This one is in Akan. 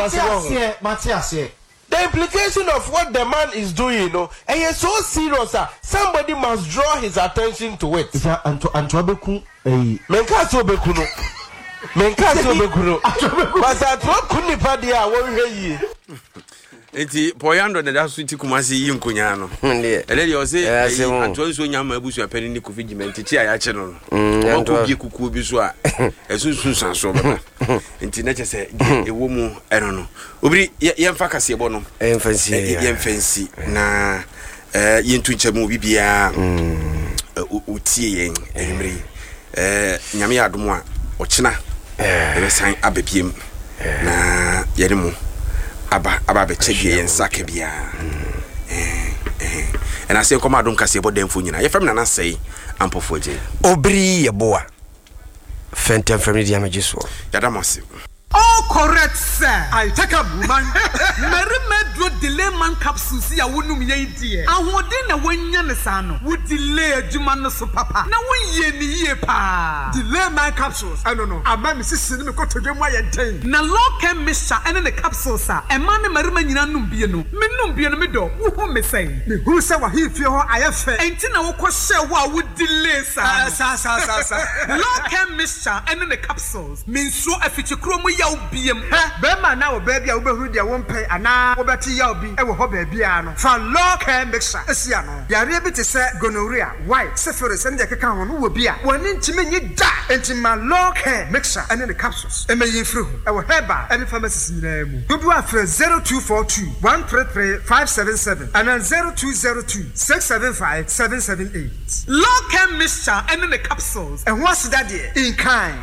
Mate ase wɔ ho. aseɛ, mate aseɛ. The implication of what the man is doing no, ɛyɛ so serious a somebody must draw his attention to it. Sɛ anto antoa bɛku ɛyi. Menkaa sɛ ɔbɛku no. Menkaa sɛ ɔbɛku no. Antoa bɛku. But sɛ antoa ku nipa deɛ a wɔnhwɛ yie. Nti Paul Yandɔ na da so ti Kumasi yi nkonyaa no. Deɛ. Ɛnɛ deɛ ɔse Ɛyɛ ɛyi asɛm o. Antoa nsuo nya ama abusua panin ne Kofi Gyimah nti kyi a yɛakye no no. Mm, Ɔma Antoa. kɔ bie kukuo bi so a ɛso nsunsuansoɔ bɛba. Nti na kyɛ sɛ deɛ ɛwɔ mu ɛno no. Obiri yɛ yɛmfa kaseɛbɔ no. Yɛmfa nsi Ɛ, yɛ. Yɛmfa nsi na ɛ, yɛntu nkyɛ mu obi biara ɔtie yɛn anwummere yi. Ɛ, Nyame yɛ adom a ɔkyena yɛbɛsan aba biem na yɛne mo aba aba abɛkyɛ deɛ yɛn nsa ka biara. Ɛna sɛ nkɔmɔ adom kaseɛbɔ dɛmfo nyinaa. Yɛfrɛ me Nana Sɛe Ampɔfoɔ Agyei. Obiri yɛ boa. Fɛntɛmfrɛm ne deɛ megye soɔ. Yɛda mo ase. All correct sir. I take up woman. Mmarima aduro delay man capsules yi a wonom yɛ yi deɛ ahoɔden na woanya no saa no wo delay adwuma no so papa na wo yɛ no yie paa. Delay man capsules ɛno no ama me sisi ne me kotodwe mu ayɛ den. Na Lorcan mixture ɛne ne capsules a ɛmaa ne mmarima nyinaa nom bie no me nom bie no me dɔ wo hu me sɛn? Me hunu sɛ w'ahemfie hɔ ayɛ fɛ. Ɛnti na wo kɔ hyɛɛ hɔ a wo delay saa no. Saa saa saa saa. Lorcan mixture ɛne ne capsules. Mensuro afikyikuro mu yaw biam. Hwɛ, barima anaa ɔbaa bi a wobɛhunu deɛ wompɛ anaa wobɛte yaw bi wɔ hɔ baabiara no, fa Law Care Mixture si ano. Yareɛ bi te sɛ gonorrhea, white, syphilis ne deɛ ɛkeka ho no wɔ bi a, w'ani ntumi nnye da. Enti ma Law Care Mixture ne ne capsules mmɛyi mfiri ho wɔ herbal ne pharmacies nyinaa mu. Dodoɔ a frɛ 0242 133 577 anaa 0202 675 778. Law Care Mixture ne ne capsules. Ɛho aseda deɛ, in kind.